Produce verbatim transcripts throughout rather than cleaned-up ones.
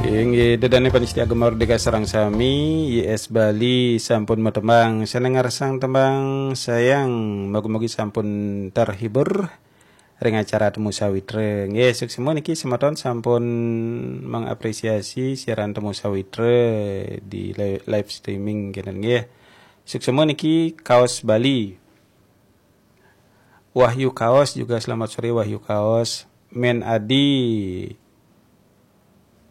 Inggih, ida dané pamiarsa Gema Merdeka sareng sami, Y S Bali sampun matembang. Sané ngarsang tembang Sayang, mugi-mugi sampun terhibur ring acara Temu Sawitra. Nggih, suksma niki semeton sampun mengapresiasi siaran Temu Sawitra di li-, live streaming kenten nggih. Suksma niki Kaos Bali. Wahyu Kaos juga, selamat sore Wahyu Kaos. Men Adi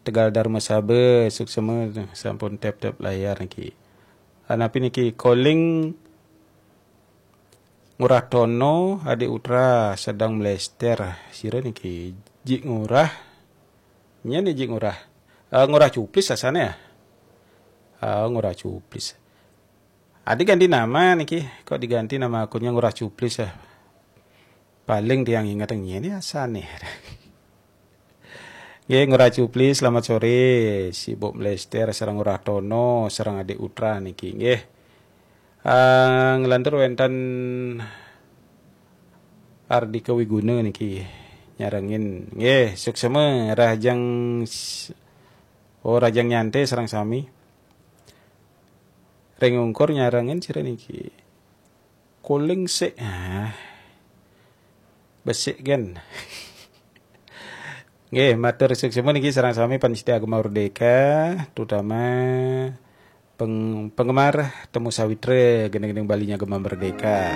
Tegal Darmasaba, suksma sampun tep-tep layar niki. Anapi niki, Koling Ngurah Tono, Adik Utra sedang melester. Sira niki, Jik Ngurah. Nyén Jik Ngurah. Eh, Ngurah Cuplis asané ya? Ah, Ngurah Cuplis. Adi ganti nama niki, kok diganti nama akunnya Ngurah Cuplis ya? Paling tiang inget nyén asané. Nggih, Ngurah Cuplis, selamat sore. Sibuk melester sareng Ngurah Tono, sareng Adik Utra niki, nggih. Ah, nglantur wénten Ardika Wiguna niki nyarengin. Nggih, suksma Rahajeng s-, oh, Rahajeng Nyanté sareng sami. Ring Ungkur nyarengin sira niki. Koling sik. Ah. Besik kan. Nggih, matur suksma niki sareng sami pamiarsa Gema Merdeka, terutama peng-, penggemar Temu Sawitra, gending-gending Balinya Gema Merdeka.